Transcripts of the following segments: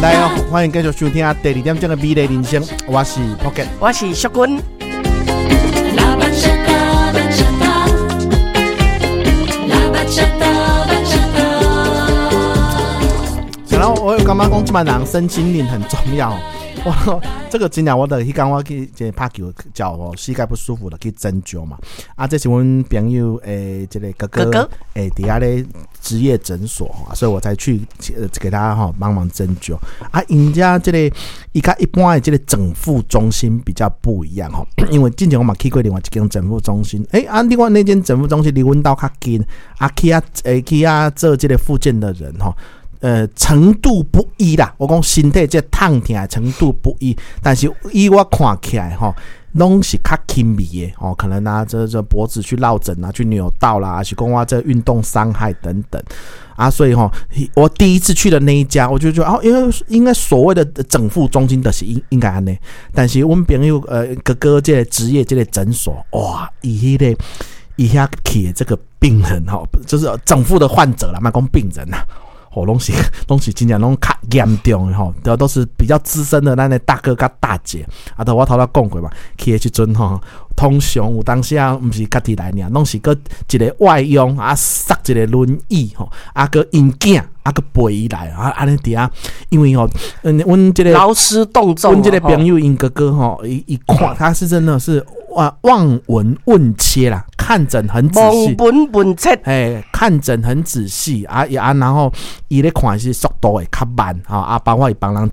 來哦，歡迎繼續收聽第二點鐘的美麗人生，我是 Pocket，我是淑君。 La bachata, bachata. La bachata, bachata. 然後我感覺講，這擺人身心靈很重要。我這個真正我就彼工我去這拍球，腳哦膝蓋不舒服了，去針灸嘛。啊，這是阮朋友的這個哥哥，欸，佇遐咧職業診所，所以我才去給他吼幫忙針灸。啊，𪜶遮這個伊佮一般的這個整復中心比較不一樣吼，因為之前我嘛去過另外一間整復中心，欸，啊，另外那間整復中心離阮兜較近，啊，去遐欸去遐做這個復健的人吼，程度不一啦。我講身體這痛疼的程度不一，但是以我看起來吼，攏是較輕微的哦，可能啊，這脖子去落枕啊，去扭到啦，還是講我這運動傷害等等啊，所以吼，我第一次去的那一家，我就覺得哦，因為應該所謂的整復中心的是應該按呢，但是阮朋友哥哥這個職業這個診所，哇，伊彼個伊遐去的這個病人吼，就是整復的患者啦，莫講病人啦。哦，攏是真正攏較嚴重的吼，都是比較資深的咱的大哥佮大姐。啊，都我頭拄講過嘛，去的時陣吼，通常有當時啊，毋是家己來爾，攏是閣一個外傭啊，捒一個輪椅吼，啊，閣𪜶囝啊，閣陪伊來啊，按呢佇遐，因為吼，阮這個勞師動眾，阮這個朋友𪜶哥哥吼，伊看他是真的是哇望聞問切啦，看診很仔細，望聞問切，哎，看診很仔細啊啊，然後伊咧看是速度會較慢，吼啊，包括伊幫人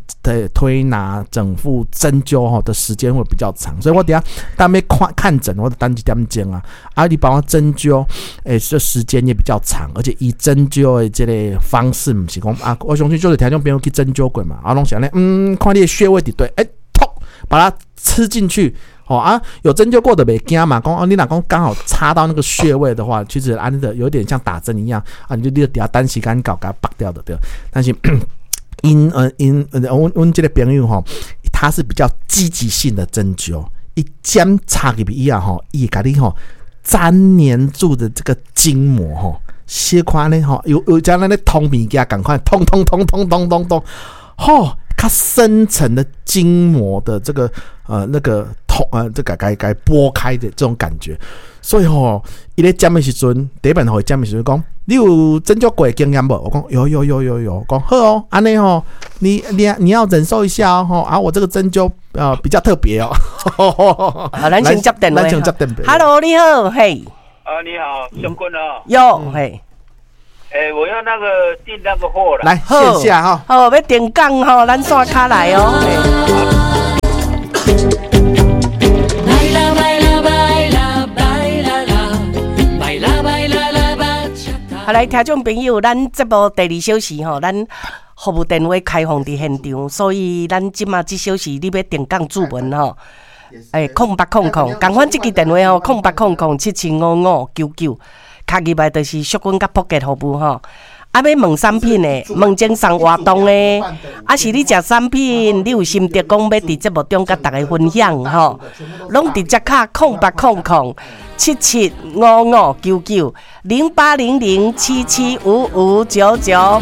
推拿、整復、針灸吼的時間會比較長，所以我佇遐當欲看診，我就等一點鐘啊，啊，你幫我針灸，欸，這時間也比較長，而且伊針灸的這個方式毋是講啊，我相信就是聽眾朋友去針灸過嘛，啊，攏是按呢，看你的穴位佇佗，欸，噗，把它吃進去。哦啊，有針灸過的袂驚嘛，講哦，你若講剛好插到那個穴位的話，其實按的有點像打針一樣啊，你就佇遐等時間到，共它拔掉的對。但是𪜶阮這個朋友吼，他是比較積極性的針灸，伊針插入去以後吼，伊會共你吼粘黏住的這個筋膜吼，小可呢吼，有像咱咧通物件仝款，通通通通通通通，吼，較深層的筋膜的這個那個通這個共撥開的這種感覺，所以吼，伊咧針的時陣，第一擺予伊針的時陣講，你有針灸過的經驗無？我講有有有有有，講好哦，按呢吼，你要忍受一下哦，吼啊，我這個針灸比較特別哦。好，咱先接電話。咱先接電話。 Hello，你好，嘿。啊，你好，小棍哦。有，嘿。欸，我要那個訂那個貨了。來線下哈。好，欲定崗吼，咱線跤來哦。 Baila, baila, baila, baila, la. Baila, baila, la bachata. 好，來，聽眾朋友，咱節目第二小時吼，咱服務電話開放佇現場，所以咱這馬這小時你欲定崗注文吼，欸，0800，仝款這支電話吼，0800775599，敲入來就是淑君佮撲克服務吼。啊，欲問產品的，問贈送活動的，啊是你食產品，你有心得講欲佇節目中佮大家分享吼，攏直接敲08007755990800775599。